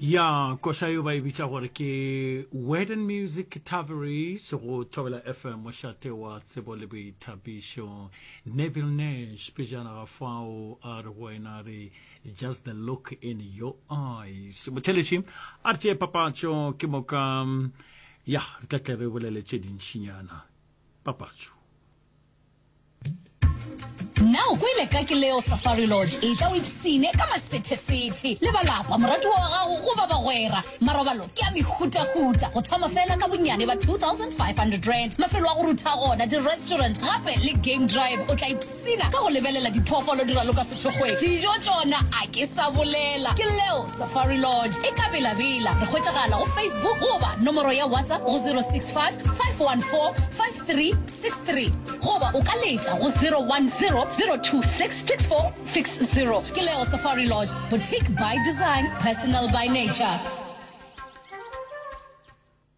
Ya, koša yeo ba e bitša gore ke Word and Music Tavares go Thobela FM, mošate wa tsebo le boithabišo. Neville Nash pejana ga fao a re go wena a re just the look in your eyes. Motheletši a re tšee papatšo ke moka ya re tla tle re bolele tše dintšinyana. Papatšo. Na o kwele ka Ke Leo Safari Lodge? Etla o ipsine ka masethesethe le ba lapa, moratiwa wa gago goba bagwera. Marobalo ke a mehutahuta, go thoma fela ka bonnyane ba R2500. Mafelo a go rutha gona, di-restaurant gape le game drive. O tla ipsina ka go lebelela diphoofolo di raloka sethokgweng. Dijo tšona a ke sa bolela. Ke Leo Safari Lodge e ka Bela-Bela. Re hwetšagala go Facebook goba nomoro ya WhatsApp go 065 514 5363 goba o ka letša go 010-026-6460. Ke Leo Safari Lodge, boutique by design, personal by nature.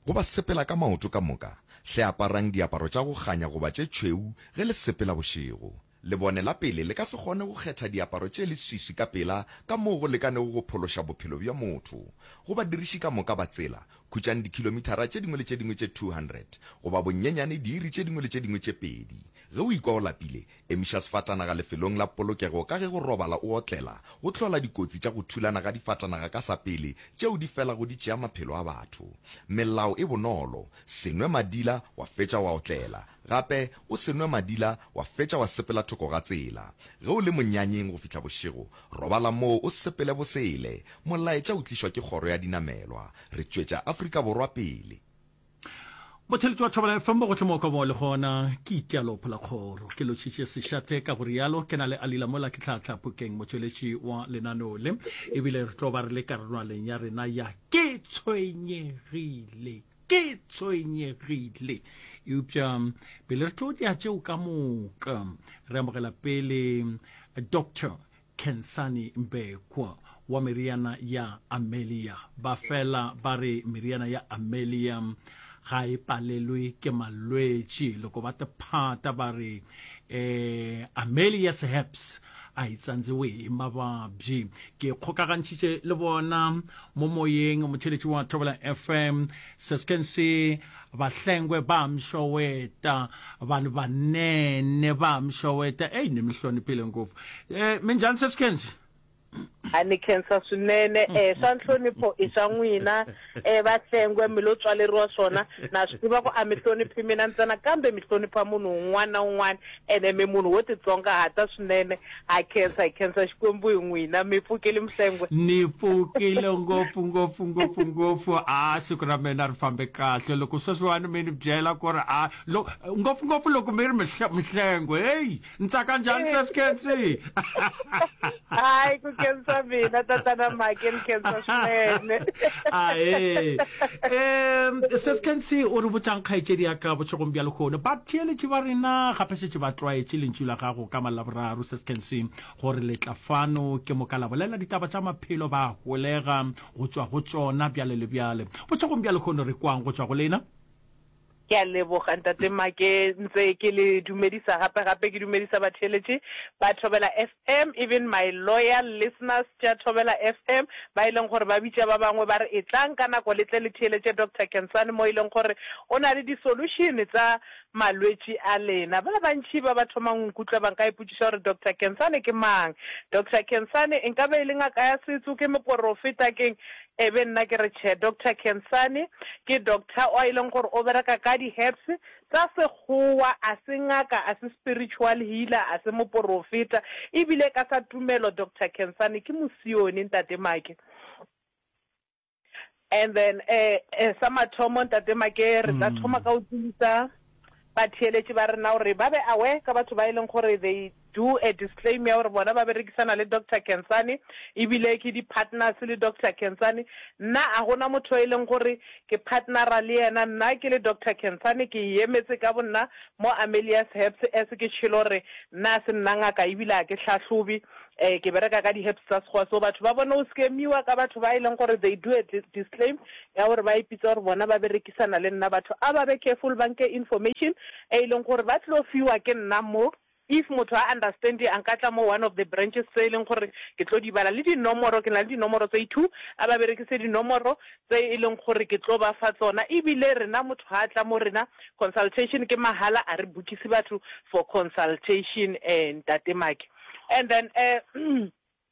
Go ba sepela ka maoto ka moka, hle aparang diaparo tša go kganya goba tše tšhweu ge le sepela bošego. Lebone la pele le ka se kgone go kgetha diaparo tše leswiswi ka pela ka moo go lekanego go phološa bophelo bja motho. Go badiriši ka moka ba tsela, khutšang dikhilomithara tše dingwe le tše dingwe tše 200, goba bonyenyane diiri tše dingwe le tše dingwe tše pedi. Ge o ikwa o lapile, emiša sefatanaga lefelong la polokego ka ge go robala o otlela go hlola dikotsi tša go thulana ga difatanaga ka sa pele tšeo di felago di tšea maphelo a batho. Melao e bonolo, se nwe madila wa fetša wa otlela. Gape, o se nwe madila wa fetša wa sepela thoko ga tsela. Ge o le monyanyeng go fihla bošego, robala moo o sepele bosele. Molaetša o tlišwa ke Kgoro ya Dinamelwa. Re tšwetša Afrika Borwa pele. Motheletši wa Thobela FM bogohle mo ka mo le gona ke itialo phola kgoro ke lotšhitše sešate ka go rialo ke na le Alila mola ke tlhatla Phokeng motšweletši wa lenaneo le ebile re tlo ba re le karolwaneng ya rena ya ke tshwenyegile Ke tshwenyegile. Eupša pele re tlo dia tšeo ka moka, re amogela pele Doctor Khensani Mbekwa wa meriana ya Amelia. Ba fela ba re meriana ya Amelia ga e palelwe ke malwetši. Loko ba tephata ba re eh, Amelia's Herbs a e tsandziwe hi mavabyi. Ke kgokagantšhitše le bona mo moyeng motheletši wa Thobela FM sesken se bahlengwe ba mshoweta vanhu vanene va mshoweta eyi ni mi hloniphile ngopfu eh minjhani seskensi A ni khensa swinene eh swa nhlonipho i swa n'wina eh Vahlengwe mi lo tswaleriwa swona na swi tiva ku a mi hloniphi mina ntsena kambe mi hlonipha munhu un'wana na un'wana ene mi munhu wo titsongahata swinene Ha khensa, hi khensa Xikwembu hi n'wina. Mi pfukile Mhlengwe? Ni pfukile ngopfu, ngopfu, ngopfu, ngopfu. A siku ra mina ri fambe kahle. Loko sweswiwani mi ni byela ku ri a lo, ngopfu ngopfu loko mi ri Mhlengwe, heyi, ni tsaka njhani Sesi Khensi? Hayi, ku khensa mina tatana Make, ni khensa swinene. Ahee. Um, Sesi Khensi, o re botšang kgaetšedi ya ka bošegong bja lehono? Batheeletši ba rena gape šetše ba tlwaetše lentšu la gago ka Malaboraro, Sesi Khensi, gore le tla fano ke moka la bolela ditaba tša maphelo, ba holega go tšwa go tšona bjale le bjale. Bošegong bja lehono re kwang go tšwa go lena? Ke a leboga Ntate Make, ntse ke le dumedisa gape gape ke dumedisa batheeletši ba Thobela FM, even my loyal listeners tša Thobela FM ba e leng gore ba bitša ba bangwe ba re etlang ka nako le tle le theeletše Doctor Khensani mo e leng gore o na le di solution tsa malwetši a lena. Ba bantši ba ba thomang go nkutlwa ba nka ipotšiša gore Doctor Khensani ke mang? Doctor Khensani nka be e le ngaka ya setso, ke moporofeta, keng? E be nna ke re tšhe. Doctor Khensani ke doctor o e leng gore o bereka ka di herbs tsa sekgowa, a se ngaka, a se spiritual healer, a se moporofeta, ebile ka sa tumelo Doctor Khensani ke mosione Ntate Make. And then eh, eh sa mathomo Ntate Make re tla thoma ka go tsebisa batheeletši ba rena gore ba be aware ka batho ba e leng gore they do a disclaim ya gore bona ba berekisana le Doctor Khensani ebile ke di-partners le Doctor Khensani. Nna a gona motho e leng gore ke partnera le yena, nna ke le Doctor Khensani ke e emetse ka bonna mo Amelia's Herbs as ke tšhelo gore nna a se nna ngaka ebile a ke hlahlobe um ke bereka ka di-herbs tsa sekgowa. So batho ba bone go scamiwa ka batho ba e leng gore they do a disclaim ya gore ba ipitsa gore bona ba berekisana le nna. Batho a ba be careful ba nke information e leng gore ba tlo fiwa ke nna mo. If motho a understand a nka tla mo one of the branches tse e leng gore ke tlo di bala le dinomoro, ke na le dinomoro tse i-two, a ba berekise dinomoro tse e leng gore ke tlo ba fa tsona. Ebile rena motho ha a tla mo rena consultation ke mahala, a re bookise batho for consultation Ntate Make. And then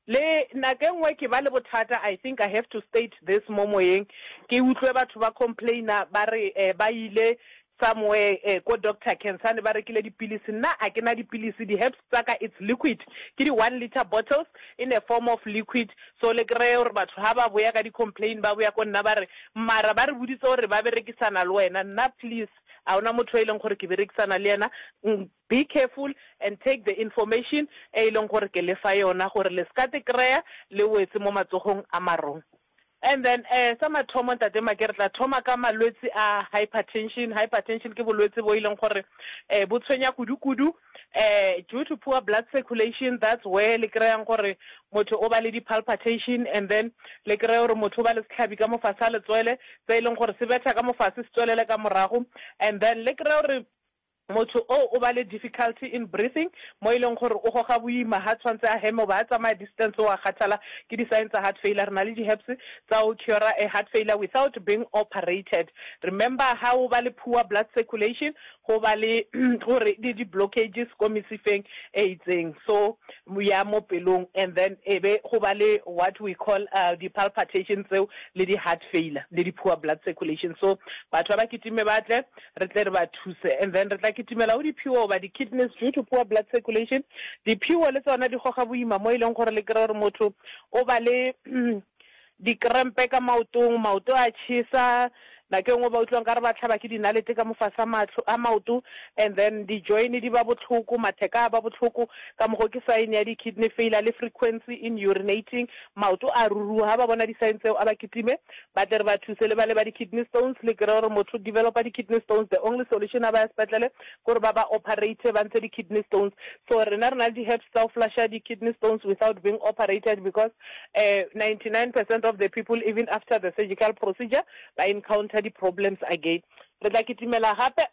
Le nako e nngwe ke ba le bothata, I think I have to state this mo moyeng, ke utlwe batho ba complainer ba re ba ile somewhere ko Doctor Khensani ba rekile dipilisi, nna a ke na dipilisi, di herbs tsa ka it's liquid, ke di one litre bottles in a form of liquid, so le kreye gore batho ha ba boya ka di complain ba boya ko nna ba re mara ba re boditse gore ba berekisana le wena, nna please a ona motho e leng gore ke berekisana le yena, Be careful and take the information e e leng gore ke le fa yona gore le ska te kry-a le wetse mo matsogong a marong. And then eh sa mathomo Ntate Make re tla thoma ka malwetsi a hypertension. Hypertension ke bolwetsi bo e leng gore eh bo tshwenya kudu-kudu eh due to poor blood circulation, that's where le kry-ang gore motho o ba le di-palpitation and then le kry-e gore motho o ba le setlhabi ka mo fase ga letswele se e leng gore se betha ka mo fase se tswelele ka morago and then le kry-e gore Motho o o ba le difficulty in breathing mo e leng gore o goga boima ha tshwantse a heme goba ha tsamaya distance o a kgathala, ke di sign tsa heart failure. Re na le di herbs tsa ho cure-a a heart failure without being operated. Remember ha o ba le poor blood circulation go ba le gore le di blockages ko mesifeng e itseng so ya mo pelong and then e be go ba le what we call di palpitation tseo le di heart failure le di poor blood circulation. So batho ba ba kitime ba tle re tle re ba thuse. And then re tla kitimela go diphiwo goba di-kidneys due to poor blood circulation. Diphiwo le tsona di goga boima mo e leng gore le kry-e gore motho o ba le dikrempe ka maotong, maoto a tšhesa, nako e nngwe ba utlwa nkare ba tlhaba ke dinalete ka mo fase a mahlo a maoto, and then di-join di ba bohloko, matheka a ba bohloko, ka mokgo ke sign ya di-kidney failure le frequency in urinating, maoto a ruruha. Ha ba bona di-sign tseo a ba kitime Ba tle re ba thuse le bale ba di kidney stones, le kry-e gore motho o developa di kidney stones, the only solution a ba ya sepetlele ke gore ba ba operate ba ntshe di kidney stones. So rena re na le di herbs tsa go flusha di kidney stones without being operated because 99 percent of the people even after the surgical procedure ba encounter di problems again. Re tla kitimela gape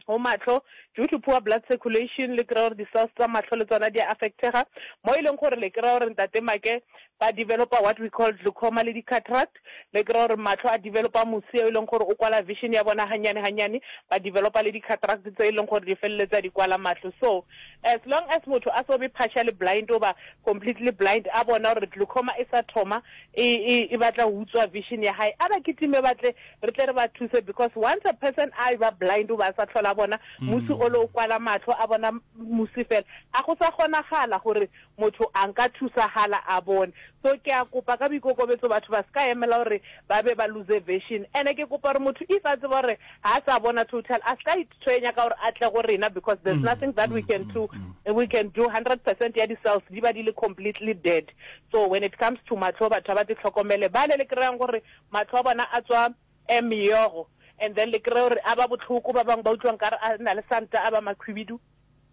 go mahlo due to poor blood circulation, le kry-e gore di cells tsa mahlo le tsona di a affectega mo e leng gore le kry-e gore ntate Make ba developa what we call glaucoma le di-cataract, le kry-a gore mahlo a developa mosi e leng gore o kwala vision ya bona ganyane ganyane, ba developa le di-cataract tse e leng gore di feleletsa di kwala mahlo. So as long as motho a so be partially blind goba completely blind, a bona gore glaucoma e sa thoma e, e, e batla go utswa vision ya hae, a ba kitime ba tle re tle re ba thuse, because once a person a e ba blind goba a sa tlhola a bona mosi ole o kwala mahlo, a bona mosi fela, a go sa kgonagala gore motho a nka thusagala a bone. So ke a kopa ka boikokobetso batho ba seka emela gore ba be ba lose vision. Ene ke kopa gore motho if a tseba gore ha a sa bona total a seka itshwenya ka gore a tle go rena because there's nothing that we can do, we can do 100% ya di cells di ba di le completely dead. So when it comes to mahlo batho a ba te tlhokomele bale le kry-ang gore mahlo a bona a tswa meogo and then le kry-e gore a ba bohloko, ba bangwe ba utlwa nkare a na le santa a ba makhwibidu.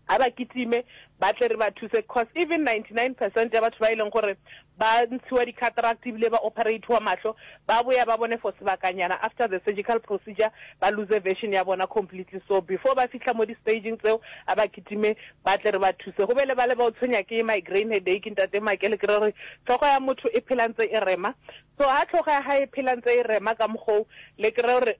A ba kitime ba tle re ba thuse cause even 99 percent ya batho ba e leng gore ba ntshiwa di-cataract ebile ba operate-wa mahlo ba boya ba bone for sebakanyana after the surgical procedure ba lose vision ya bona completely. So before ba fihla mo di-stageng tseo a ba kitime ba tle re ba thuse. Go be le bale ba o tshwenya ke migraine headache ntate Make le kry-e gore hlogo ya motho e phela ntse e rema. So ha tlhogo ya hae e phela ntse e rema ka mokgoo, le kry-e gore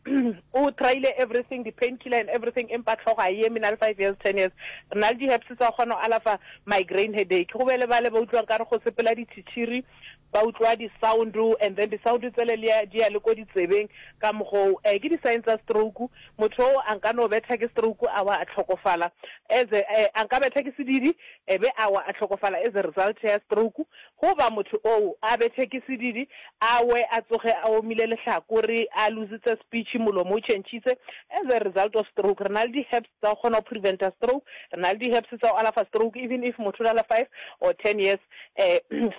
o try-ile everything, di-pain killer and everything, empa tlhogo ga e eme na le five years, ten years. Re na le di-herbs tsa go kgona go alafa migraine headache. Go be le bale ba utlwang kare go sepela ditšhitšhiri, ba utlwa di-sound and then di-sound tsele le ya, di ya le ko ditsebeng ka mokgoo. Eh, ke di-sign tsa stroke. Motho oo a nka no betha ke stroke a wa a tlhokofala as a, eh, a nka betha ke sedidi e be a wa a tlhokofala as a result ya stroke. Goba motho oo a bethe ke sedidi, a we a tsoge a omile lehlakore, a lositse speech, molomo o tšhentšhitse as a result of stroke. Re na le di-herbs tsa go kgona go preventa stroke, re na le di-herbs tsa go alafa stroke even if motho o na le five or ten years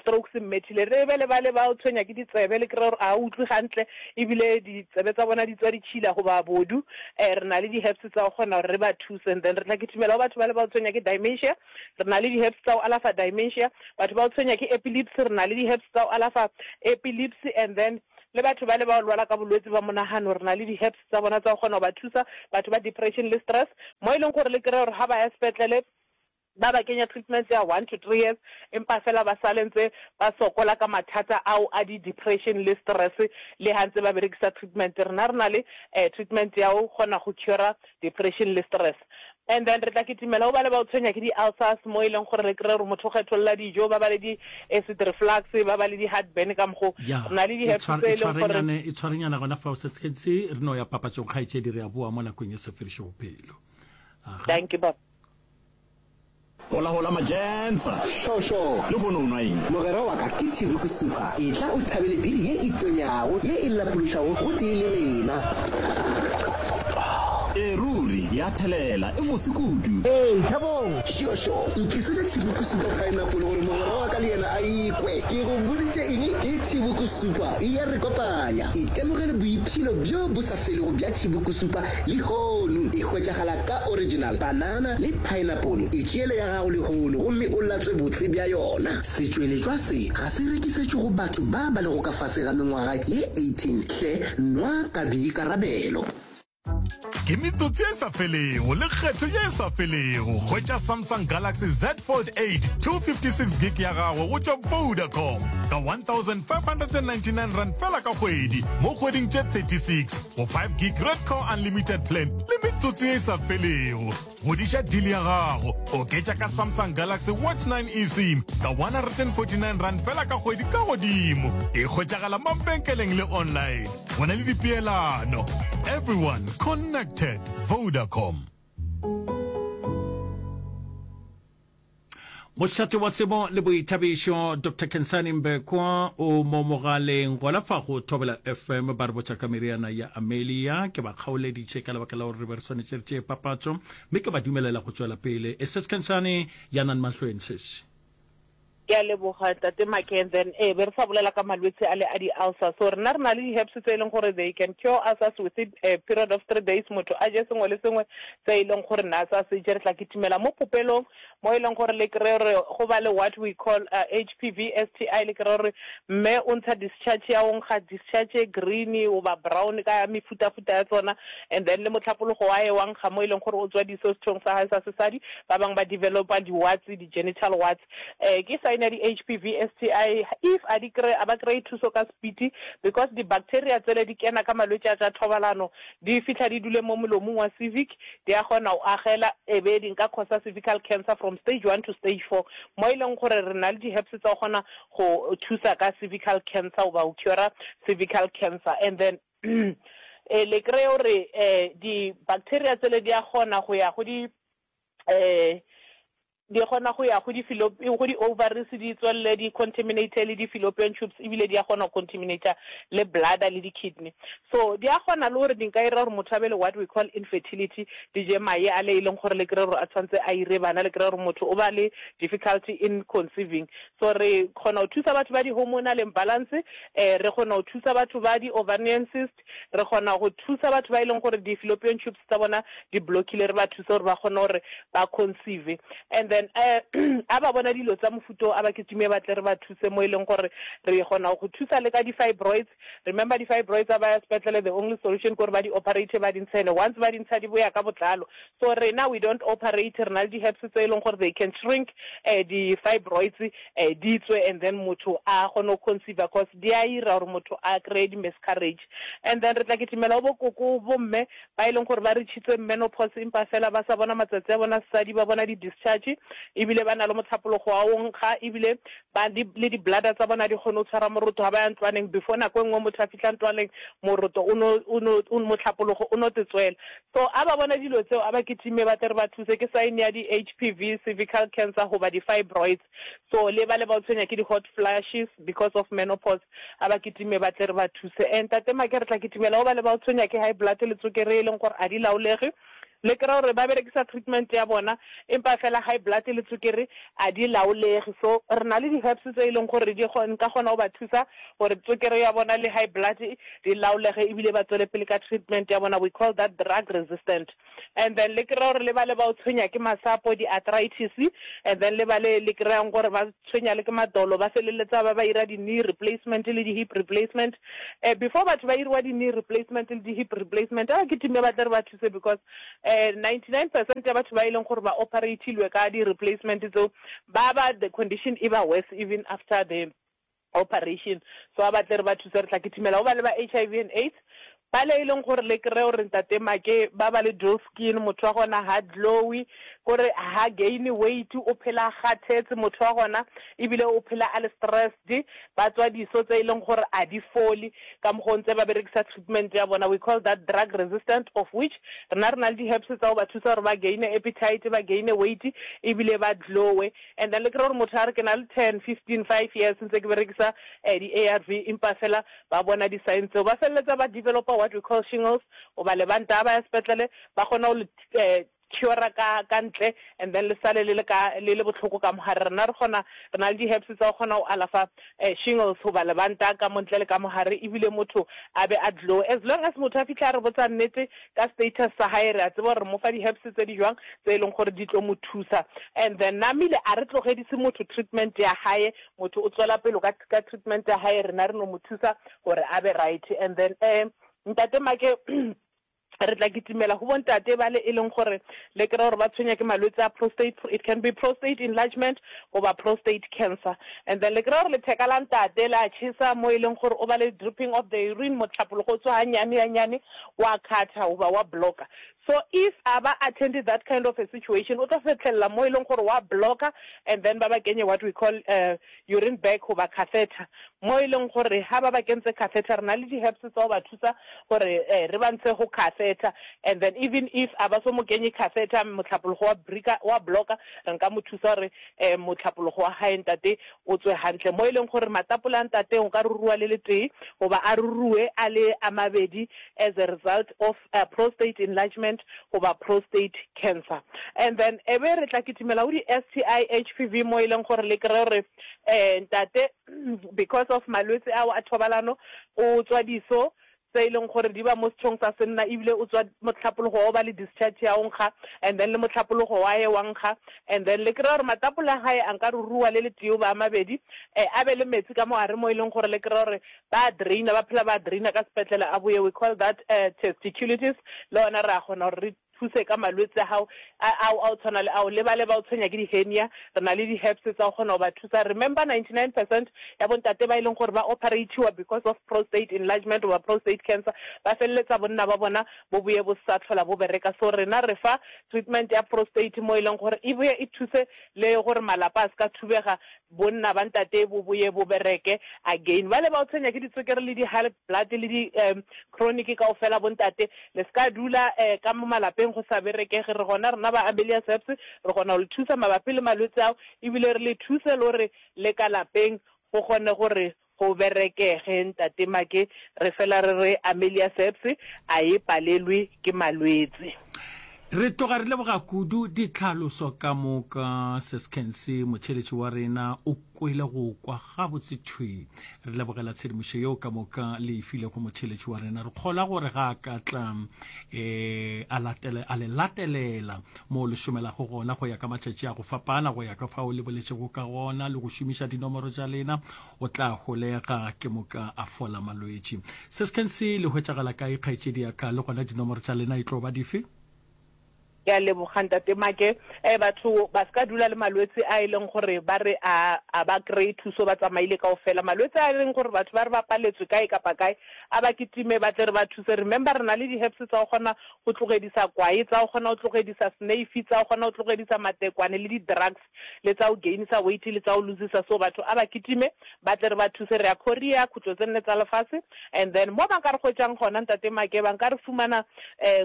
stroke se mmethile. Re be le bale ba o tshwenya ke ditsebe, le kry-e gore ga a utlwe gantle ebile ditsebe tsa bona di tswa ditšhila goba bodu, re na le di-herbs tsa go kgona gore re ba thuse. And then re tla kitimela go batho bale ba o tshwenya ke dementia, Re na le di-herbs tsa go alafa dementia. Batho ba go tshwenya ke epilepsy, re na le di-herbs tsa go alafa epilepsy. And then le batho bale ba go lwala ka bolwetse ba monagano, re na le di-herbs tsa bona tsa go kgona go ba thusa. Batho ba depression le stress, mo e leng gore le kry-e gore ga ba ya sepetlele. Ba ba kenya treatment ya one to three years empa fela ba sale ntse ba sokola ka mathata ao a di depression le stress le ha ntse ba berekisa treatment. Rena re na le treatment ya go kgona go cure depression le stress. And then re tla kitimela go bale ba o tshwenya ke di ulcers mo e leng gore re kry-e gore motho o kgetholla dijo, ba ba le di acid reflux, ba ba le di heartburn ka mokgo. Ya, Re na le di e herbs tshwar, tse e e leng gore tshwarenyane, e tshwarenyana gona fao Setshentsi, re no ya papatšong kgaetšedi, re a boa mo nakong ye se fediše bophelo. Aga. Dankie baba. Hola hola majensa. Sho sho. Lehono o nwa eng? Mogwera wa ka ke Chibuku Super. Etla o thabele biri ye e tonyago ye e lapološago gotee le rena. Ee ruri, ya thelela, e bose kudu. Ee, Thabong. Sho sho. Ntlisetše Chibuku Super Pineapple gore mogwera wa ka le yena a ikwe. Ke go boditše eng? Ke Chibuku Super. E ya re kopanya. Itemogele boipshino bjo bo sa felego bja Chibuku Super lehono. E hwetšagala ka original, banana le pineapple. Itšeele ya gago lehono gomme o latswe botse bja yona. Setšweletšwa se ga se rekisetšwe go batho ba ba lego ka fase ga mengwaga ye 18. Hle nwa ka boikarabelo. Ke metsotso ye sa felego le kgetho ye sa felego. Hwetša Samsung Galaxy Z Fold 8 256 gig ya gago go tšwa Vodacom ka R1599 fela ka kgwedi mo kgweding tše 36 go 5 gig Redco Unlimited Plan le metsotso ye e sa felego. Godiša deal ya gago, oketša ka Samsung Galaxy Watch 9 eSIM ka R149 fela ka kgwedi ka godimo. E hwetšagala mabenkeleng le online. Go na le dipeelano. Everyone connected. Vodacom. Mošate wa tsebo le boithabišo Doctor Khensani Mbekwa o mo mogaleng gona fa go Thobela FM ba re botša ka meriana ya Amelia. Ke ba kgaoleditše ka lebaka la gore re be re swanetše re tšee papatšo mme ke ba dumelela go tšwela pele. E Sis Khensani ya nan mahlweng sis. Ke a leboga Ntate Make and then ee be re sa bolela ka malwetse a le a di-ulcer so rena re na le di-herbs tse e leng gore they can cure ulcers within a period of three days motho a je sengwe le sengwe se e leng gore na sa se je re tla kitimela mo popelong mo e leng gore le kry-e gore go ba le what we call HPV STI le kry-e gore mme o ntsha discharge ya go nkga discharge e green goba brown ka mefutafuta ya tsona and then le mohlapologo wa ye wa nkga mo e leng gore o tswa diso sethong sa gae sa sesadi ba bangwe ba developa di-warts di-genital warts um ke sign ya di-HPV STI if a di kry a ba kry-e thuso ka speed because di-bacteria tsele di kena ka malwetši a tša thobalano di fihla di dule mo molomong wa civic di a kgona go agela e be di nka causa cervical cancer from stage one to stage four mo e leng gore re na le di-herbs tsa go kgona go thusa ka cervical cancer goba go cure cervical cancer and then e le kry-e gore um di-bacteria tsele di a kgona go ya go di um Di kgona go ya go di go di ovaries di tswelele di contaminate le di fallopian tubes ebile di a kgona go contaminate le bladder le di kidney. So di a kgona le gore di nka ira gore motho a be le what we call infertility, di je maye ale e leng gore le kry-e gore a tshwanetse a ire bana, le kry-e gore motho o ba le difficulty in conceiving. So re kgona go thusa batho ba di hormonal imbalance, re kgona go thusa batho ba di ovarian cyst, Re kgona go thusa batho ba e leng gore di-fallopian tubes tsa bona di blockile, re ba thuse gore ba kgone gore ba conceive. And then a ba bona dilo tsa mofuta o, a ba kitime ba tle re ba thuse mo e leng gore re kgona go thusa le ka di-fibroids. Remember di-fibroids a ba ya sepetlele the only solution ke gore ba di operate ba di ntshe, and once ba di ntsha di boya ka botlalo. So rena we don't operate, re na le di-herbs tse e leng gore they can shrink di-fibroids di tswe and then motho a kgone go conceiver cause di a ira gore motho a kry-e di-miscarriage. And then re tla kitimela go bo koko, bo mme ba e leng gore ba reachitse menopause empa fela ba sa bona matsatsi a bona sesadi, ba bona di-discharge ebile ba na le motlhapologo wa go nkga ebile ba di, le di-bladder tsa bona di kgone go tshwara moroto ga ba ya ntlwaneng. Before nako e nngwe motho a fihla ntlwaneng moroto o no, o no, motlhapologo o no te tswela. So a ba bona dilo tseo a ba kitime ba tle re ba thuse, ke sign ya di HPV, cervical cancer goba di fibroids. So le bale ba o tshwenya ke di hot flashes because of menopause a ba kitime ba tle re ba thuse. And Tate Make re tla kitimela go bale ba o tshwenya ke high blood le tsokere e leng gore a di laolege. Le kry-a gore ba berekisa treatment ya bona empa fela high blood le tsokere a di laolege. So re na le di herbs tse e leng gore di nka kgona go ba thusa gore tsokere ya bona le high blood di laolege ebile ba tswele pele ka treatment ya bona, we call that drug resistant. And then le kry-a gore le bale ba o tshwenya ke masapo, di-arthritis, and then le bale le kry-ang gore ba tshwenya le ke madolo, ba feleletsa ba ba ira di-knee replacement le di-hip replacement. Before batho ba iriwa di-knee replacement le di-hip replacement, a ke time ba tle re ba thuse because 99% ya batho ba e leng gore ba operatilwe ka di-replacement tseo ba ba the condition e ba worse even after the operation. So a ba tle re ba thuse, re tla kitimela go ba le ba HIV and AIDS bale e leng gore le kry-e gore ntate Make ba ba le dull skin, motho wa gona ha glowy, kore ha gain weight, o phela a kgathetse motho wa gona, ebile o phela a le stressed, ba tswa diso tse e leng gore a di fole ka mokgwa o ntse ba berekisa treatment ya bona, we call that drug resistant, of which rena re na le di-herbs tsa go ba thusa gore ba gain appetite, ba gain weight ebile ba glowe. And then le kry-e gore motho a re ke na le 10, 15, 5 years ntse ke berekisa di-A_R_V empa fela ba bona di-sign tseo, ba feleletsa ba developa what we call shingles goba lebanta, ga ba ya sepetlele ba kgona go le cure-a ka ka ntle and then le sale le le ka le le bohloko ka mogare. Rena re kgona, re na le di-herbs tsa go kgona go alafa shingles goba lebanta ka mo ntle le ka mogare ebile motho a be a glow. As long as motho a fihla a re botsa nnete ka status sa hae, re a tseba gore re mo fa di-herbs tse di jwang tse e leng gore di tlo mo thusa. And then namile a re tlogedise motho treatment ya hae, motho o tswela pele ka ka treatment ya hae, rena re no mo thusa gore a be right. And then um ntate Make re tla kitimela go bontate bale e leng gore le kry gore ba tshwenya ke malwetse a prostate, it can be prostate enlargement goba prostate cancer. And then le kry gore letheka la ntate la chesa mo e leng gore o ba le dripping of the urine, mohlapologo o tswa ganyane ganyane, wa khatha goba wa blocka. So if a ba attend that kind of a situation, o tlo fehlelela mo e leng gore wa blocka and then ba ba kenye what we call urine bag goba catheter, mo e leng gore ha ba ba kentse catheter re na le di-herbs tsa go ba thusa gore re ba ntshe go catheter, and then even if a ba so mo kenye catheter, mohlapologo wa brika wa blocka, re nka mo thusa gore mohlapologo wa hae ntate o tswe hantle, mo e leng gore matapole a ntate o ka ruruwa le letee goba a ruruwe a le a mabedi as a result of prostate enlargement goba prostate cancer. And then e be re tla kitimela go di-STI, HPV, mo e leng gore le kry-e gore ntate because of malwetse ao a thobalano o tswa diso tse e leng gore di ba mo sethong sa senna, ebile o tswa mohlapologo wa go ba le discharge ya go nkga, and then le mohlapologo wa ye wa nkga, and then le kry-a gore matapole a gae a nka ruruwa le letee goba a mabedi, a be le metsi ka mo gare mo e leng gore le kry-a gore ba a draina, ba phela ba a draina ka sepetlele a boye, we call that testiculitis, le gona re a kgona gore re thuse ka malwetse a gago ao a o tshwana le ao, le bale ba o tshwenya ke di-hernia, re na le di-herbs tsa go kgona go ba thusa. Remember 99 percent ya bontate ba e leng gore ba operatiwa because of prostate enlargement goba prostate cancer, ba feleletsa bonna ba bona bo boye bo sa tlhola bo bereka. So rena re fa treatment ya prostate mo e leng gore e boye e thuse le gore malapa a se ka thubega, Bonna ba ntate bo boye bo bereke again. Bale ba o tshwenya ke ditswekere le di high blood le di chronic kaofela bo ntate le ska dula ka mo malapeng go sa berekege. Re gona rena ba Amelia Serbs re kgona go le thusa mabapi le malwetse ao ebile re le thuse le gore le ka lapeng go kgone gore Go berekege ntate Make re fela re re Amelia Serbs a e palelwe ke malwetse. Re tloga re leboga kudu ditlhaloso ka moka Sis Kensi motheeletši wa rena o kwele go kwa gabotse thwi. Re lebogela tshedimošo yeo ka moka le e filego motheeletši wa rena. Re kgolwa gore ga a ka tla um a latele a le latelela mo le šomelago gona go ya ka matšatši a go fapana go ya ka fao le boletšego ka gona le go šomiša dinomoro tša lena O tla holega ke moka a fola malwetši. Se se se le hwetšagala kae kgaetšedi ya ka, le gona dinomoro tša lena e tlo ba dife? Ke a leboga Ntate Make. Eh batho ba se ka dula le malwetse a e leng gore ba re a a ba kry-e thuso ba tsamaile kaofela. Malwetse a e leng gore batho ba re ba paletswe kae kapa kae a ba kitime ba tle re ba thuse. Remember re na le di-herbs tsa go kgona go tlogedisa kwae, tsa go kgona go tlogedisa sneifi, tsa go kgona go tlogedisa matekwane le di-drugs. le tsa go gainisa weight le tsa go losisa, so batho a ba kitime ba tle re ba thuse. Re ya Korea, khutlo tse nne tsa lefase, and then mo ba nka re hwetšang gona Ntate Make, ba nka re fumana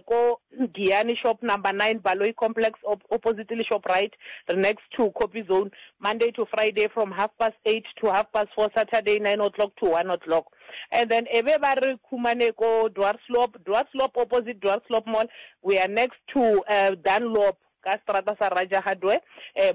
ko Giyani shop number 9, Baloyi Complex, opposite le Shoprite, re next to Copy Zone, Monday to Friday from half past 8 to half past 4, Saturday 9 o'clock to 1 o'clock. And then e be ba re khumane ko Dwarsloop, Dwarsloop opposite Dwarsloop Mall, we are next to Dunlop. Ka seterata sa Raja Hardware,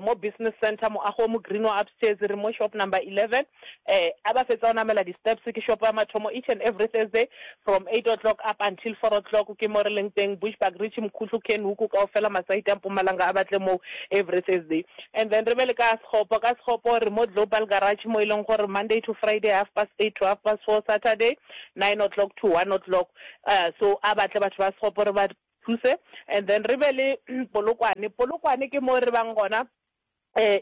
mo Business Centre, moago o mo green wa upstairs, re mo shop number 11. A ba fetsa go namela di steps, ke shop ya mathomo each and every Thursday from 8 o'clock up until 4 o'clock, ke mo re leng teng, Bushbuckridge, Mkhuhlu, Kenhoek, kaofela masaite a Mpumalanga a batle moo every Thursday. And then re be le ka Sekgopo, ka Sekgopo re mo Global Garage mo e leng gore Monday to Friday half past 8 to half past 4, Saturday 9 o'clock to 1 o'clock. So a batle batho ba Sekgopo re ba. thuse. And then re be le Polokwane. Polokwane ke mo re bang gona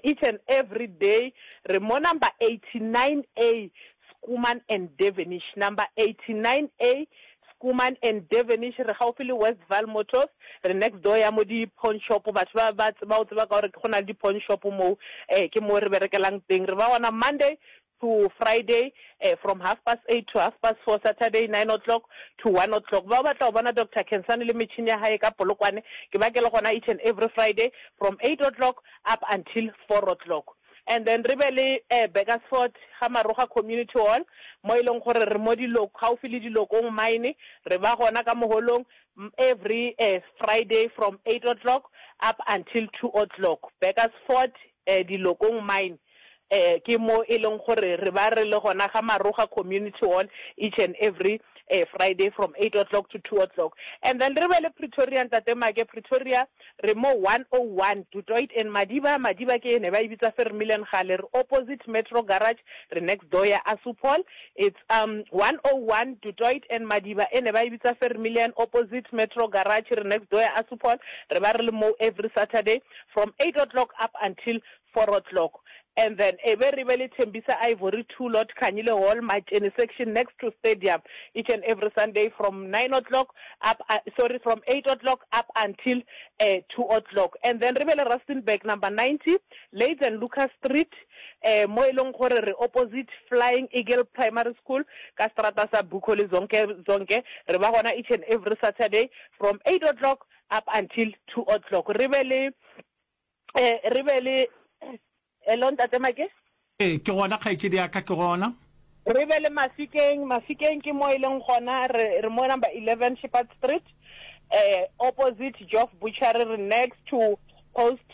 each and every day. Re mo number 89A Schoeman and Devenish. Number 89A Schoeman and Devenish, re gaufi le Westvaal Motors, re next door ya mo di pawn shop, batho ba ba tseba o tseba ka gore go na le di pawn shop moo, ke mo re berekelang teng. Re ba gona Monday to Friday from half past eight to half past four, Saturday nine o'clock to one o'clock. Ba batla go bona Doctor Khensani le metšhini ya hae ka Polokwane, ke ba ke le gona each and every Friday from eight o'clock up until four o'clock. And then re be le Burgersfort ga Maroga Community Hall mo e leng gore re mo gaufi le Dilokong Mine, re ba gona ka moholong every Friday from eight o'clock up until two o'clock. Burgersfort, Dilokong Mine ke mo e leng gore re ba re le gona ga Maroga Community Hall each and every Friday from eight o'clock to two o'clock. And then re be le Pretoria, Ntate Make, Pretoria re mo 101 Du Toit and Madiba, Madiba ke e ne ba e bitsa Vermeulen gale, re opposite Metro Garage, re next door ya Assupol. It's um 101 Du Toit and Madiba e ne ba e bitsa Vermeulen, opposite Metro Garage, re next door ya Assupol. Re ba re le mo every Saturday from eight o'clock up until four o'clock and then e be re be le Thembisa Ivory 2 lot Khanyile Hall Matšene section next to stadium each and every Sunday from nine o'clock up sorry from eight o'clock up until uh, two o'clock and then re be le Rustenburg number 90 Leeds and Lucas Street eh mo e leng gore re opposite Flying Eagle Primary School ka strata sa Bukho le Zonke Zonke re ba gona each and every Saturday from eight o'clock up until two o'clock re be le Eh, re be le Hello ntate Make? Ee, ke gona kgaetšedi ya ka, ke gona. Re be le Mafikeng, Mafikeng ke mo e leng gona, re, re mo number 11 Shepherd Street, eh, opposite Geoff Butchery, re next to post,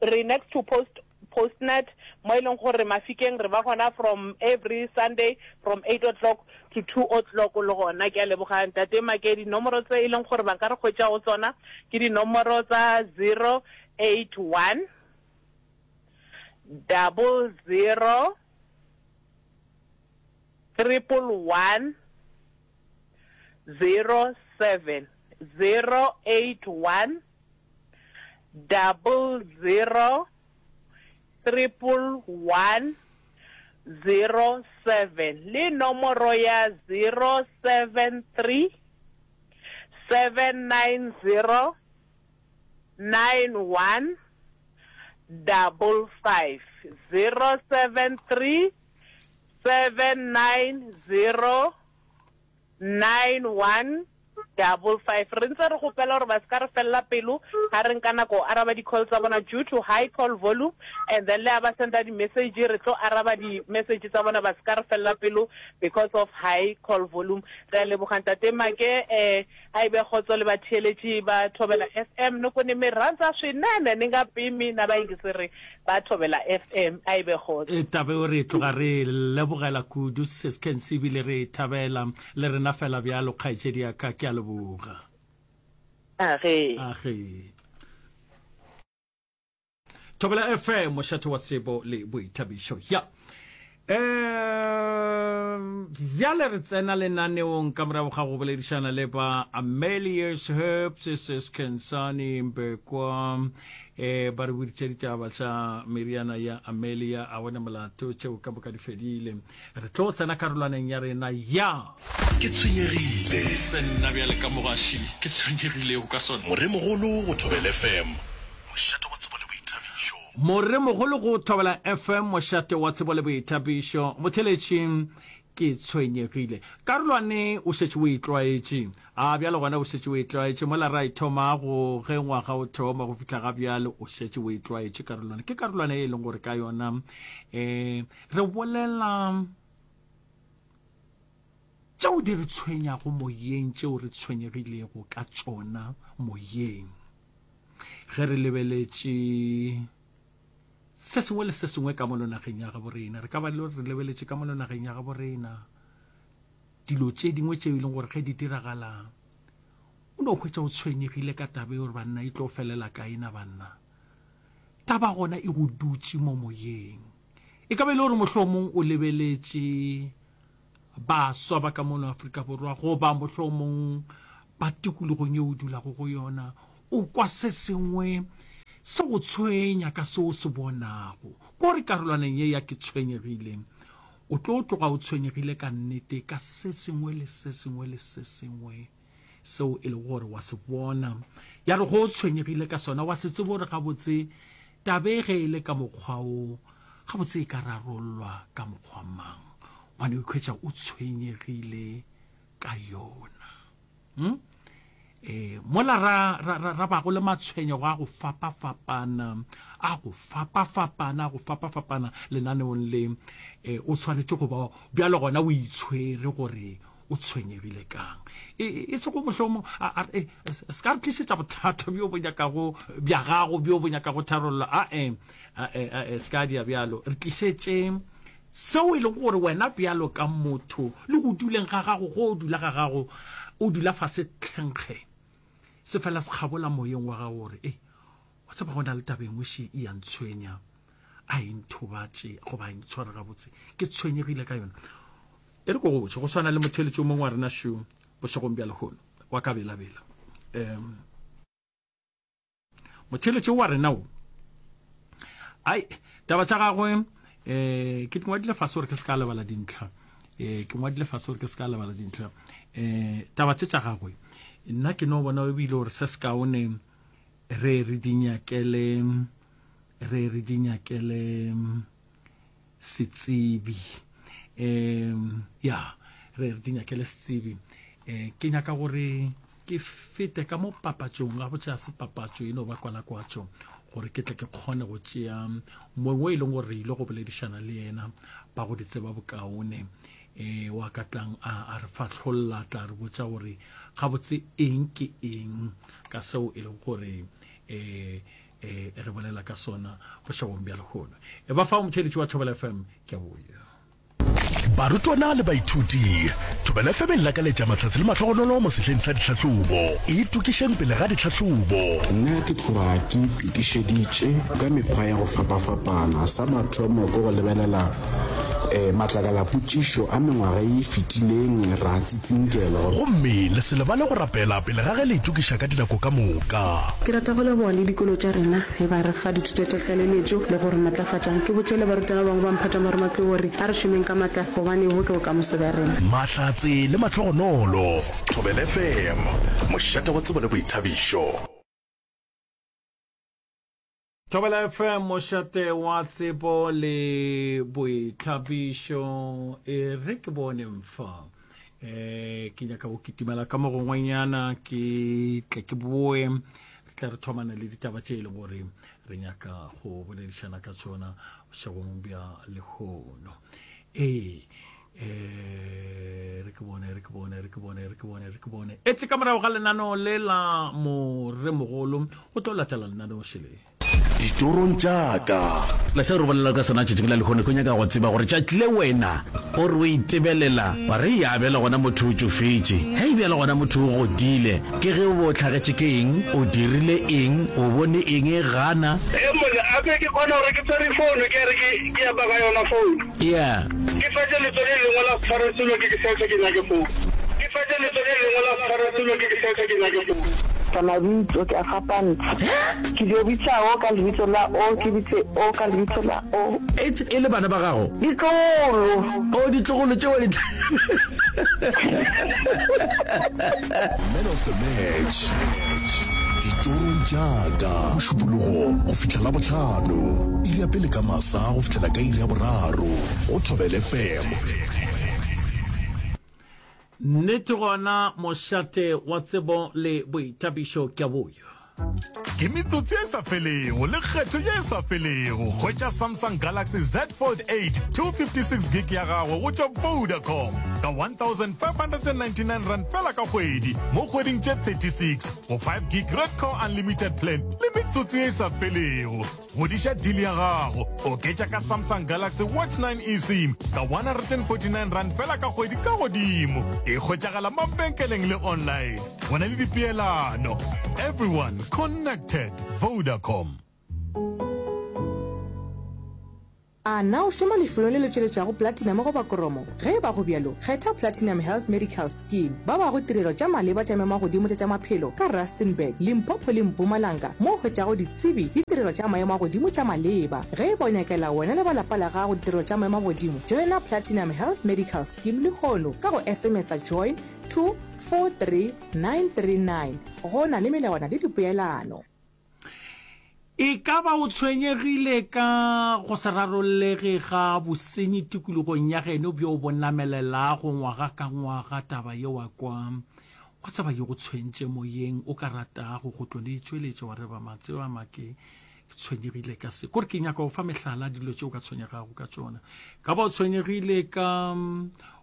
re next to post, Postnet, mo e leng gore Mafikeng re ba gona from every Sunday from 8 o'clock to 2 o'clock le gona. Ke a leboga ntate Make, dinomoro tse e leng gore ba nka re hwetša go tsona ke dinomoro tsa 081 00 111 07 081 00 111 07 le nomoro ya 073 790 91 55 073 790 9155. Re ntse re kgopela gore ba se ka re felela pelo ga re nka nako go araba di-call tsa bona due to high call volume and then le ha ba senda di-message re tlo araba di-message tsa bona ba se ka re felela pelo because of high call volume. Re a leboga Ntate Make eh a e be kgotso le batheeletši ba Thobela FM ni ku ni mi rhandza swinene ni nga pimi na vayingiseri ba Thobela FM a e be kgotso. E, taba eo re e tloga re e lebogela kudu Sis Kensi ebile re e thabela le rena fela bjalo kgaetšedi ya ka ke a leboga. Age. Age. Thobela FM mošate wa tsebo le boithabišo ya um bjale re tsena lenaneong ka morago ga go boledišana le ba Amelius Herbs Sis Khensani Mbekwa eh ba re boditše ditaba tša meriana ya Amelia a bone molato tšeo ka moka di fedile Re tlo tsena karolwaneng ya rena ya. Ke tshwenyegile. Se nna bjale ka mogaši ke tshwenyegilego ka sona. Moremogolo go Thobela FM, mošate wa tsebo le boithabišo. Moremogolo go Thobela FM, mošate wa tsebo le boithabišo. Motheeletši, Ke tshwenyegile. Karolwane o šetše o e tlwaetše. A bjale gona o šetše o e tlwaetše. Mola ra e thomago ge ngwaga o thoma go fihla ga bjale o šetše o e tlwaetše karolwane. Ke karolwana e leng gore ka yona um Re bolela tšeo di re tshwenyago moyeng, tšeo re tshwenyegilego ka tšona moyeng. Ge re lebeletše se sengwe le se sengwe ka mono nageng ya gabo rena, re ka ba le re lebeletše ka mono nageng ya gabo rena dilo tše dingwe tšeo e leng gore ge di diragala o no hwetša o tshwenyegile ka taba e gore banna e tlo felela kae na banna. Taba gona e go dutše mo moyeng. E ka ba e le gore mohlomong o lebeletše baswa ba ka mono Afrika Borwa goba mohlomong ba tikologong ye o dulago go yona, o kwa se sengwe se go tshwenya ka se o se bonago. Ko re karolwaneng ye ya Ke Tshwenyegile, o tlo tloga o tshwenyegile ka nnete ka se sengwe le se sengwe le se sengwe seo e lego gore wa se bona. Ya re go o tshwenyegile ka sona, wa se tsebe gore gabotse tabe ge e le ka mokgwa wo, gabotse e ka rarollwa ka mokgwa mang. Gobane o ikhwetša o tshwenyegile ka yona. Hmm? E, mola ra, ra, ra, ra bago le matshwenyego a go fapafapana, a go fapafapana, a go fapafapana lenaneong le, e, o tshwanetše go ba bjalo gona o itshwere gore o tshwenyegile kang. E, e, e sego mohlomong, a, a, e, se ka re tlišetša bothata bjo bo nyakago, bja gago bjo bo nyakago tharollo, a, e, a, e, a, e, se ka dia bjalo. Re tlišetše Seo e lego gore wena bjalo ka motho, le go duleng ga gago, go o dula ga gago, o dula fase tlhenkge, se fela se kgabola moyeng wa gago gore, Ei, wa tseba go na le taba e nngwe še e a ntshwenya, a e nthobatše goba a e ntshware gabotse, ke tshwenyegile ka yona. E re ko go botše, go swana le motheeletši o mongwe wa rena šo bošegong bja lehono, wa ka belabela. Um. Motheeletši wa rena o. Ai, taba tša gagwe um ke di ngwadile fase gore ke se ka lebala dintlha. Um ke ngwadile fase gore ke se ka lebala dintlha. Um taba tše tša gagwe nna ke no bona ebile gore se se kaone re re di nyakele re re di nyakele setsebi um ya re re di nyakele setsebi um ke nyaka gore ke fete ka mo papatšong ga botse se papatšo e no ba kwalakwatšo gore ke tle ke kgone go tšea mongwe e leng gore re ile go boledišana le yena ba go di tseba bokaone um wa ka tlang a re fahlolla tla re botša gore gabotse eng ke eng ka seo e leng gore um e re bolela ka sona bošegong bja lehono. E ba fao motheeletši wa Thobela FM, ke a boya. Barutwana le baithuti, Thobela FM e lakaletša mahlatse le mahlogonolo mo sehleng sa ditlhahlobo. Itokišeng pele ga ditlhahlobo. Nna ke tloga ke itokišeditše ka mekgwa ya go fapafapana. Sa mathomo ke go lebelela Matlakala-potšišo a mengwaga ye e fetileng ra tsitsinkelwa. Gomme le se lebale go rapela pele ga ge le itokiša ka dinako ka moka. Ke rata go leboga le dikolo tša rena ge ba re fa dithuto tša tlaleletšo le go re matlafatša. Ke botše le barutwana ba bangwe ba mphato wa marematlou gore a re šomeng ka matla gobane bo ke bokamoso bja rena. Mahlatse le mahlogonolo. Thobela FM, mošate wa tsebo le boithabišo. Thobela FM, mošate wa tsebo le boithabišo. E re ke bone mfa. E, ke nyaka go kitimela ka mo gongwenyana ke tle ke boe re tle re thomane le ditaba tše e leng gore re nyaka go boledišana ka tšona bošegong bja lehono. Ee, eh, re ke bone re ke bone re ke bone re ke bone re ke bone etse ka morago ga lenaneo le la moremogolo go tlo latela lenaneo šele Ditorong tša ka. Le seo re bolelago ka sona tšatšing la lehono, ke nyaka go tseba gore tšatši le wena o re o itebelela wa re ya bjale gona motho o tšofetše, hei bjale gona motho o godile, ke ge o be o hlagetše ke eng, o dirile eng, o bone eng e gana. Ee monna, a ke ke kgona gore ke tshwere founu ke re ke ke epa ka yona founu. Yeah. Ke fetše letso le lengwe la se tshware selo ke ke search ke nyake phone. Ke fetše letso le lengwe la se tshware selo ke ke search ke nyake phone. Ka mabitso ke a fapantsha. Ke dio bitsa o ka lebitso la o, ke bitse o ka lebitso la o. Etse e le bana ba gago? Ditlogolo. Oh, ditlogolo tšeo di. Man of the match ditorong tša ka Mošupologo go fihla Labohlano iri ya pele ka masa go fihlela ka iri ya boraro go Thobela FM. Nnete gona mošate wa tsebo le boithabišo ke a boyo. Ke metsotso ye e sa felego le kgetho ye e sa felego. Hwetša Samsung Galaxy Z Fold 8 256 gig ya gago go tšwa Vodacom ka R1599 fela ka kgwedi mo kgweding tše 36 go 5 gig Redco Unlimited plan le metsotso ye e sa felego. Godiša deal ya gago, oketša ka Samsung Galaxy Watch 9 eSIM ka R149 fela ka kgwedi ka godimo. E hwetšagala mabenkeleng le online. Go na le dipeelano. Everyone connected. Vodacom. A na o šoma lefelong le le tšweletšago platinum goba kromo? Ge e ba go bjalo, kgetha Platinum Health Medical Scheme. Ba bago tirelo tša maleba tša maemo-a-godimo tša tša maphelo ka Rustenburg, Limpopo le Mpumalanga mo o hwetšago ditsebi le tirelo tša maemo a godimo tša maleba. Ge e ba o nyakela wena le ba lapa la gago ditirelo tša maemo a godimo, joina Platinum Health Medical Scheme lehono ka go SMS-a join to 43939. Go na le melawana le dipoelano. E ka ba o tshwenyegile ka go se rarollege ga bosenyi tikologong ya geno bjo bo namelelago ngwaga ka ngwaga? Taba ye wa kwa, wa tseba ye go tshwentše moyeng, o ka ratago go tlo le itšweletša wa re ba matseba make ke tshwenyegile ka se. Kore ke nyaka go fa mehlala dilo tše o ka tshwenyegago ka tšona. Ka ba o tshwenyegile ka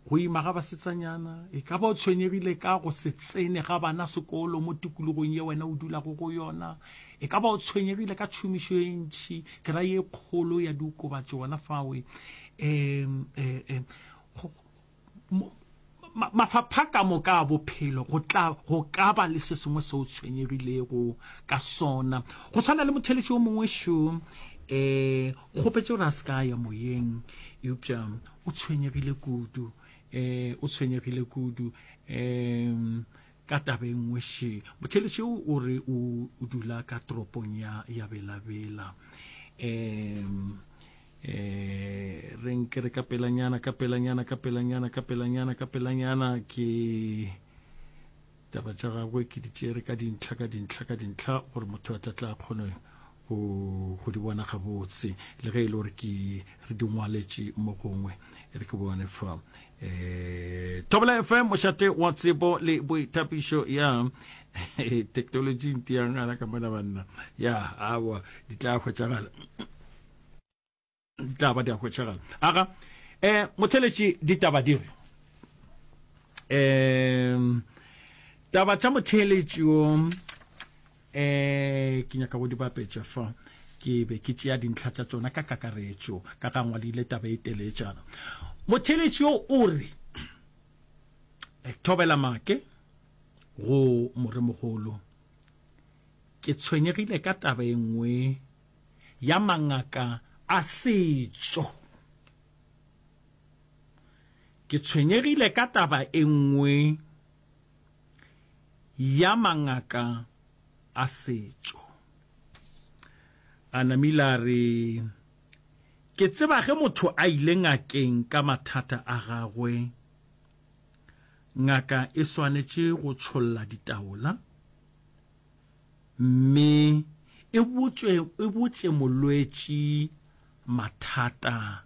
go ima ga basetsanyana, e ka ba o tshwenyegile ka go se tsene ga bana sekolo mo tikologong ye wena o dulago go yona, E ka ba o tshwenyegile ka tšhomišo e ntši, ke ra ye kgolo ya diokobatši gona fawe. Um, um, um, mafapha ka moka a bophelo go tla go ka ba le se sengwe se o tshwenyegilego ka sona. Go tshwana le motheletši o mongwe šo, um kgopetše gore a se ka ya moyeng, eupša o tshwenyegile kudu, um o tshwenyegile kudu. Um Ka taba e nngwe še, motheeletši yo o re o dula ka toropong ya ya Bela-Bela. Um eh re nke re ka pelanyana ka pelanyana ka pelanyana ka pelanyana ka pelanyana ke taba tša gagwe ke di tšere ka dintlha ka dintlha ka dintlha gore motho a tla tla kgone go go di bona gabotse le ge e le gore ke re di ngwaletše mo gongwe e re ke bone fa eh Thobela FM mošate wa tsebo le boithapišo ya technology nti ya ngala ka mona banna ya awa di tla hwetšagala di tla ba di a hwetšagala aga eh motheletši ditaba di re um taba tša motheletši o Eh, ke nyaka go di bapetša fa. Ke be ke tšea dintlha tša tšona ka kakaretšo, ka ga ngwadile taba e teletšana. Motheeletši yo o re, eh, Thobela Make go Moremogolo, ke tshwenyegile ka taba e nngwe ya mangaka a setšo. Ke tshwenyegile ka taba e nngwe ya mangaka a setšo. A namile a re, Ke tseba ge motho a ile ngakeng ka mathata a gagwe, ngaka e swanetše go tšholla ditaola mme e botšwe, e botše molwetši mathata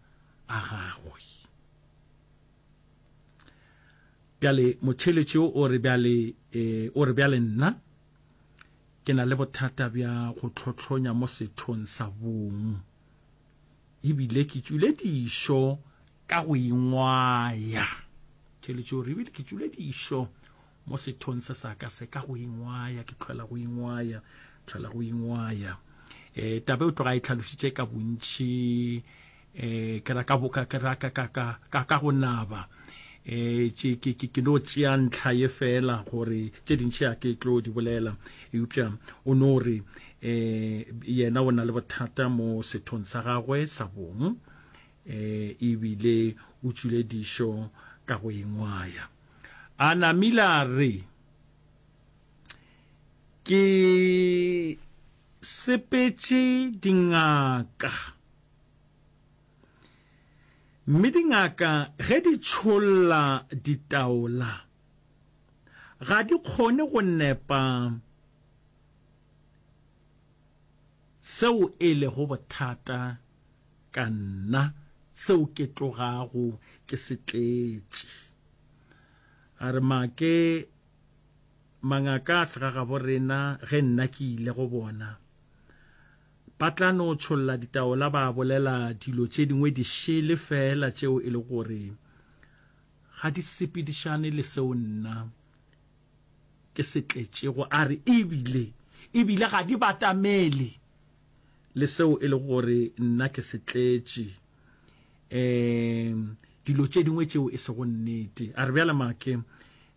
a gagwe. Bjale, motheeletši yo o re, Bjale, e, o re, bjale nna ke na le bothata bja go hlohlonya mo sethong sa bong, ebile ke tšwile dišo ka go ingwaya. Motheeletši o re, ebile ke tšwile dišo mo sethong se sa ka se ka go ingwaya, ke tlhola go ingwaya, tlhola go ingwaya. E, taba e o tloga e tlhalošitše ka bontši eh ke ra ka boka ke ra ka ka ka ka ka go naba eh tše ke ke ke no tšea ntlha ye fela gore tše dintši a ke tlo di bolela eupša o no re eh yena o na le bothata mo sethong sa gagwe sa bong eh ebile o tšwile dišo ka go engwaya a namile a re ke sepetše dingaka Mme dingaka ge di tšholla ditaola, ga di kgone go nepa seo e lego bothata ka nna, seo ke tlogago ke se tletše. A re, Make, mangaka a segagabo rena ge nna ke ile go bona, Ba tla no tšholla ditaola ba bolela dilo tše dingwe di šele feela tšeo e le gore ga di sepedišane le seo nna ke se tletšego. A re, Ebile, ebile ga di batamele le seo e le gore nna ke se tletše. Um dilo tše dingwe tšeo e sego nnete. A re, Bjale Make,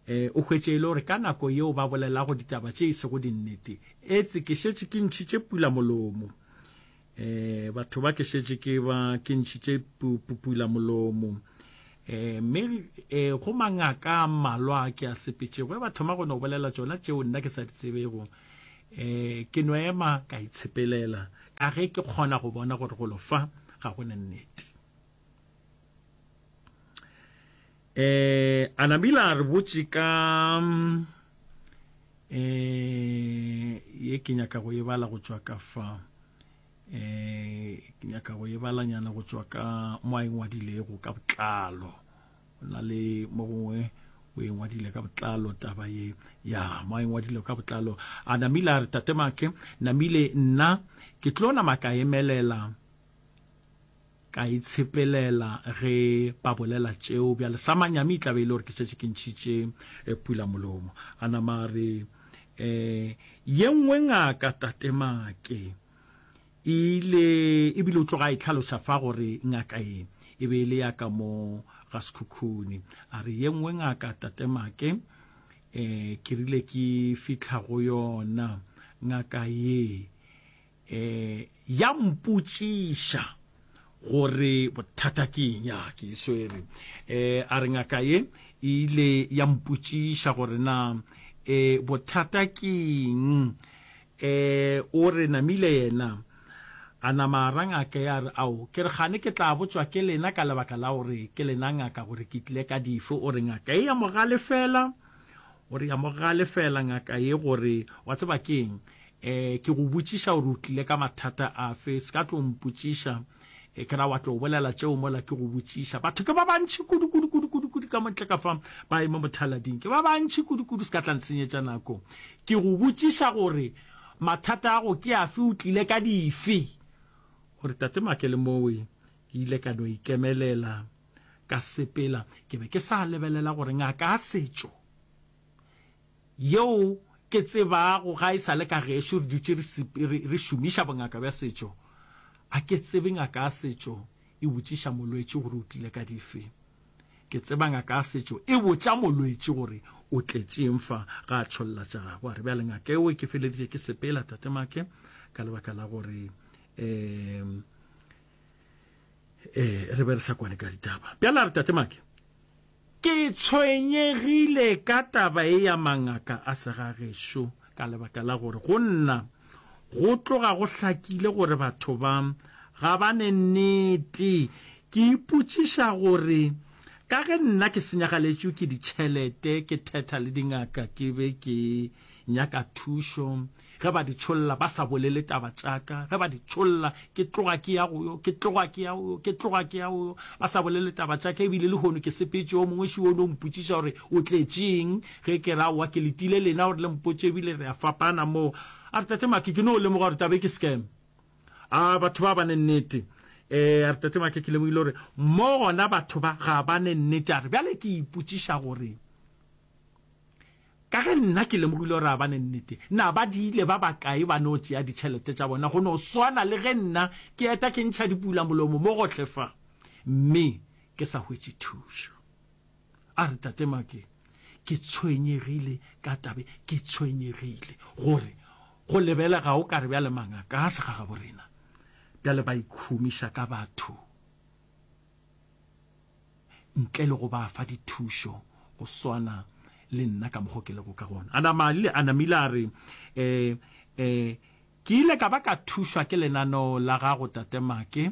E, o hwetše e le gore ka nako yeo ba bolelago ditaba tše e sego dinnete, etse ke šetše ke ntšhitše pula molomo. Eh, batho ba ke šetše ke ba ke ntšhitše pupula molomo. Eh, mme eh, go mangaka a mmalwa a ke a sepetšego, ge ba thoma go no bolela tšona tšeo nna ke sa di tsebego, eh, ke no ema ka itshepelela, ka ge ke kgona go bona gore golo fa ga go ne nnete. Eh, a namile a re botše ka eh, ye ke nyaka go e bala go tšwa ka fa eh, ke nyaka go e balanyana go tšwa ka mo a e ngwadilego ka botlalo. Go na le mo gongwe o e ngwadile ka botlalo taba ye ya mo a e ngwadile ka botlalo. A namile a re tate Make, namile nna ke tlo nama ka emelela Ka itshepelela ge ba bolela tšeo. Bjale sa manyami e tla be e le gore ke šetše ke ntšhitše eh, pula molomo. A nama a re, eh, Ye nngwe ngaka Tate Make e ile, ebile o tloga a e hlaloša fa gore ngaka ye e be e le ya ka mo ga Sekhukhune. A re, Ye nngwe ngaka Tate Make, eh, ke rile ke fihla go yona ngaka ye, E, ya mpotšiša gore bothata ke eng. Ya, ke e swere. E, a re ngaka ye e ile ya mpotšiša gore na e, bothata ke eng. E, o re namile yena a nama a ra ngaka ya re, Ao, ke re kgane ke tla botšwa ke lena ka lebaka la gore ke lena ngaka gore ke tlile ka dife. O re ngaka e ya mo galefela, o re ya mo galefela ngaka ye gore wa tseba ke eng, E, ke go botšiša gore o tlile ka mathata afe, se ka tlo mpotšiša, e, ke ra wa tlo bolela tšeo mola ke go botšiša. Batho ke ba bantši kudu, kudu, kudu, kudu, kudu ka montle ka fa, ba eme mothalading, ke ba bantši kudu, kudu, se ka tla nsenyetša nako. Ke go botšiša gore mathata a go ke afe, o tlile ka dife. Gore Tate Make le mowe, ke ile ka no ikemelela, ka sepela, ke be ke sa lebelela gore ngaka a setšo, yeo ke tsebago ga e sa le ka gešo re dutše re, re šomiša bongaka bja setšo, a ke tsebe ngaka ya setšo e botšiša molwetši gore o tlile ka dife. Ke tseba ngaka ya setšo e botša molwetši gore o tletšeng fa ga a tšholla tša gagwe. A re bjale ngaka eo ke feleditše ke sepela, Tate Make, ka lebaka la gore um eh, re be re sa kwane ka ditaba. Bjale a re Tate Make, Ke tshwenyegile ka taba ye ya mangaka a segagešo ka lebaka la gore go nna go tloga go hlakile gore batho ba ga ba ne nnete. Ke ipotšiša gore ka ge nna ke senyagaletšwe ke ditšhelete ke thetha le dingaka ke be ke nyaka thušo Ge ba di tšholla ba sa bolele taba tša ka, ge ba di tšholla ke tloga ke ya go yo, ke tloga ke ya go yo, ke tloga ke ya go yo, ba sa bolele taba tša ka, ebile lehono ke sepetše, yo mongwe šo o no mpotšiša gore o tletšeng, ge ke re aowa ke letile lena gore le mpotše, ebile re a fapana moo. A re, Tate Make, ke no lemoga gore taba e ke scam. A batho ba ba ne nnete. Eh, a re, Tate Make, ke lemogile gore mo gona batho ba ga ba ne nnete. A re, bjale ke ipotšiša gore Ka ge nna ke lemogile gore ga ba ne nnete, na ba diile ba bakae ba no tšea ditšhelete tša bona go no swana le ge nna ke eta ke ntšha dipulamolomo mo gohle fa mme ke sa hwetše thušo? A re, Tate Make, ke tshwenyegile ka tabe, ke tshwenyegile gore go lebelega o ka re bjale mangaka a segagaborena bjale ba ikhumiša ka batho. ntle le go ba fa dithušo go swana le nna ka mokgo ke lego ka gona. A nama le a namile a re, E, e, ke ile ka ba ka thušwa ke lenaneo la gago, Tate Make,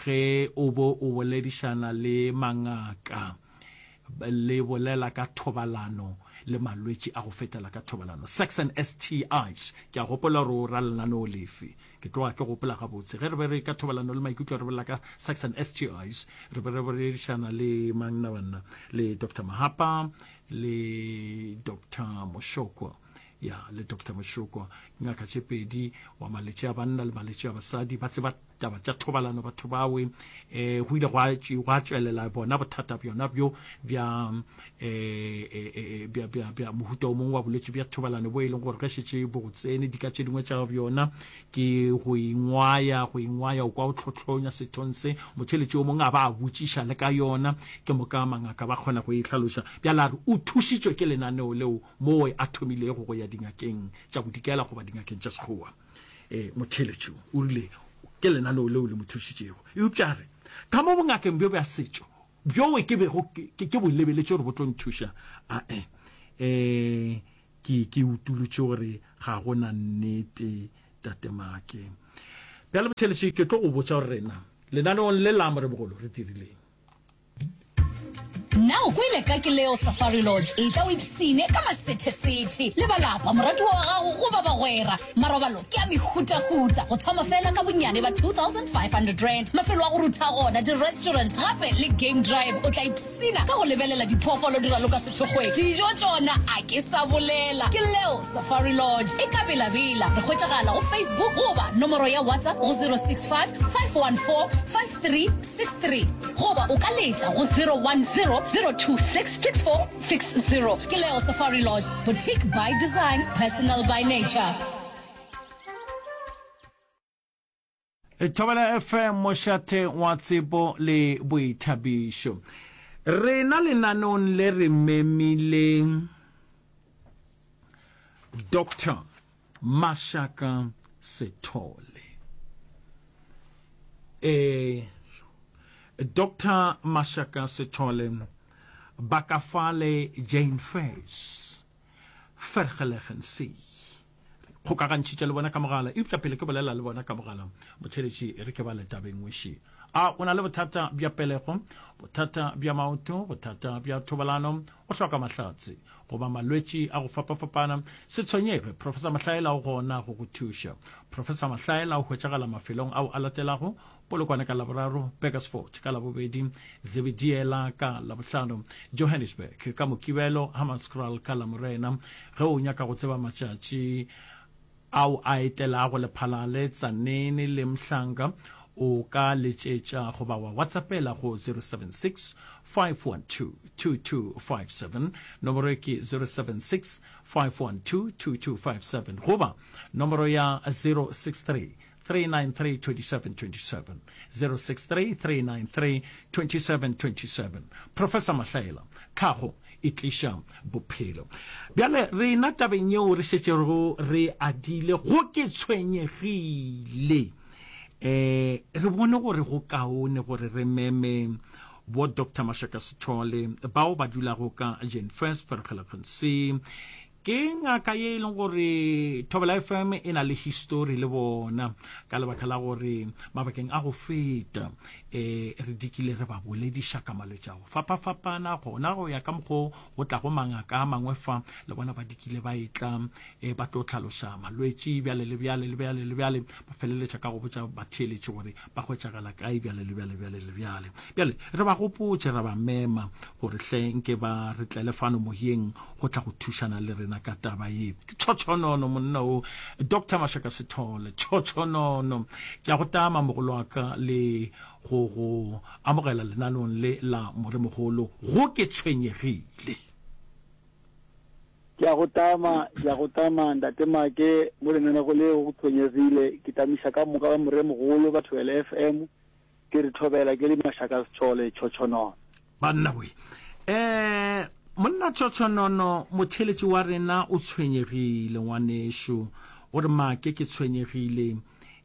ge o bo o boledišana le mangaka le bolela ka thobalano le malwetši a go fetela ka thobalano, sex and STIs. Ke a gopola gore o ra lenaneo lefe. Ke tloga ke gopola gabotse ge re be re ka thobalano le maikutlo re bolela ka sex and STIs, re be re boledišana le mang na banna, le Doctor Mahapa le Doctor Moshokwa, ya le Doctor Moshokwa, ngaka tše pedi wa maletše a banna le maletše a basadi, ba tseba taba tša thobalano batho bawe. Eh, go ile gwa gwa tšwelela bona bothata bjona bjo bja eh, eh, eh, bja bja bja mohuta o mongwe wa bolwetši bja thobalano bo e leng gore ge šetše bo go tsene dika tše dingwe tša bjona ke go ingwaya go ingwaya o kwa o tlhotlhonya sethong se motheletši o mongwe a ba a botšiša le ka yona ke moka mangaka ba kgona go e hlaloša bjale a re o thušitšwe ke lenaneo leo moo a thomilego go ya dingakeng tša bodikela goba dingakeng tša sekgowa um motheletši o rile. Ke lenaneo leo le mo thušitšego. Eupša a re, Ka mo bongakeng bjo bja setšo, bjoo ke bego ke, ke bo lebeletše gore bo tlo nthuša, ae, e, ke, ke utolotše gore ga go na nnete, Tate Make. Bjale, motheeletši, ke tlo go botša gore rena, lenaneong le la Moremogolo, re dirileng. Na o kwele ka Kileo Safari Lodge? Etla o ipsine ka masethesethe le ba lapa, moratiwa wa gago goba bagwera. Marobalo ke a mehutahuta, go thoma fela ka bonnyane ba R2500. Mafelo a go rutha gona, di-restaurant gape le game drive. O tla ipsina ka go lebelela diphoofolo di raloka sethokgweng. Dijo tšona a ke sa bolela. Kileo Safari Lodge e ka Bela-Bela. Re hwetšagala go Facebook goba nomoro ya WhatsApp go 065 514 5363 goba o ka letša go 010-026-6460. Ke Leo Safari Lodge, boutique by design, personal by nature. Thobela FM, mošate wa tsebo le boithabišo. Rena lenaneong le re memile Doctor Mashaka Sethole. E, Doctor Mashaka Sethole ba ka fale Jane Fairs, Vergelegen See. Kgokagantšhitše le bona ka mogala, eupša pele ke bolela le bona ka mogala, motheeletši, e re ke bale tabeng weši. A o na le bothata bja pelego, bothata bja maoto, bothata bja thobalano, o hloka mahlatse, goba malwetši a go fapafapana? Se tshwenyege, Professor Mahlaela o gona go go thuša. Professor Mahlaela o hwetšagala mafelong ao a latelago, Polokwane ka Laboraro, Burgersfort ka Labobedi, Zebediela ka Labohlano, Johannesburg ka Mokibelo, Hammanskraal ka Lamorena. Ge o nyaka go tseba matšatši ao a etelago Lephalale, Tzaneen le Mhlanga, o ka letšetša goba wa WhatsAppela go 076 512 2257. Nomoro e ke 076 512 2257 goba nomoro ya 063 393 2727, 063 393 2727. Professor Mahlaela, tlhago e tliša bophelo. Bjale rena tabeng yeo re šetšego re adile go ke tshwenyegile. Eh, re bone gore go kaone gore re meme bo Doctor Mashaka Sithole bao ba dulago ka Jane First Vergelegen C. Ke ngaka ye e leng gore Thobela FM e na le histori le bona ka lebaka la gore mabakeng a go feta eh re dikile re ba bolediša ka malwetši a go fapafapana gona go ya ka mokgo go tlago mangaka a mangwe fa le bona ba dikile ba etla eh, ba tlo tlhaloša malwetši bjale le bjale le bjale le bjale ba feleletša ka go botša batheeletši gore ba hwetšagala kae bjale le bjale bjale le bjale bjale re ba gopotše ra ba mema gore hle nke ba re tlele fano moyeng go tla go thušana le rena ka taba ye ke tšhotšhonono monna o Doctor Mashaka Sithole tšhotšhonono ke a go tama mogolo wa ka le go go amogela lenaneong le la moremogolo go ke tshwenyegile. Ke a go tama, ke a go tama Ntate Make mo lenanego le go tshwenyegile ke tamiša ka moka ba moremogolo ba Thobela FM ke re thobela ke le Mashaka Sethole tšhotšhonono. Banna we. Eh, monna Tšhotšhonono, motheeletši wa rena o tshwenyegile, ngwanešu. O re, Make, ke tshwenyegile.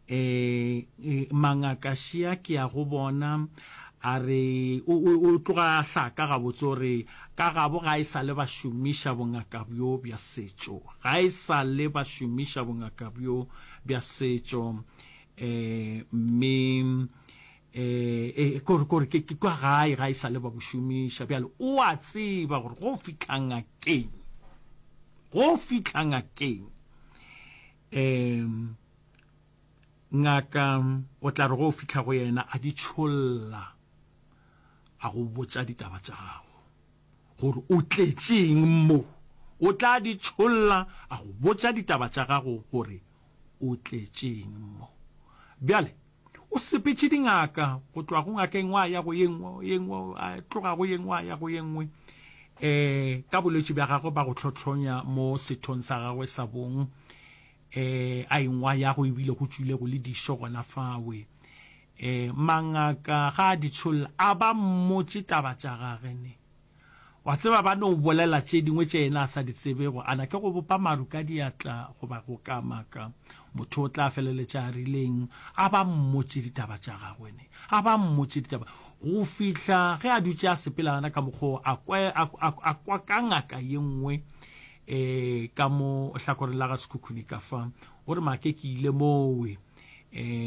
Eh, eh, mangaka šia ke ya go bona. A re, o, o, o tloga a hlaka gabotse, o re, ka gabo ga e sa le ba šomiša bongaka bjo bja setšo. Ga e sa le ba šomiša bongaka bjo bja setšo. Eh, mme eh, eh, kore, kore, ke, ke kwa gae ga e sa le ba bo šomiša. Bjale, o a tseba gore go fihla ngakeng, go fihla ngakeng, eh, ngaka o tla re go fihla go yena a di tšholla, a go botša ditaba tša gago, gore o tletšeng mo. O tla di tšholla, a go botša ditaba tša gago gore o tletšeng mo. Bjale, o sepetše dingaka, go tloga go ngaka e nngwe a ya go ye nngwe, ye nngwe, a tloga go ye nngwe a ya go ye nngwe, um ka bolwetši bja gagwe ba go hlohlonya mo sethong sa gagwe sa bong, um a engwa ya go ebile go tšwile go le dišo gona fawe. Um mangaka ga a di tšholla, a ba mmotše taba tša gage ne. Wa tseba, ba no bolela tše dingwe tše yena a sa di tsebego. A na ke go bopa maru ka diatla goba go kamaka? Motho o tla feleletša a rileng? A ba mmotše ditaba tša gagwe ne. A ba mmotše ditaba. Go fihla ge a dutše a sepela gana ka mokgwa wo, a kwa, a, a, a kwa ka ngaka ye nngwe eh, ka mo hlakoreng la ga Sekhukhune ka fa. O re, Make ke ile mowe. Eh.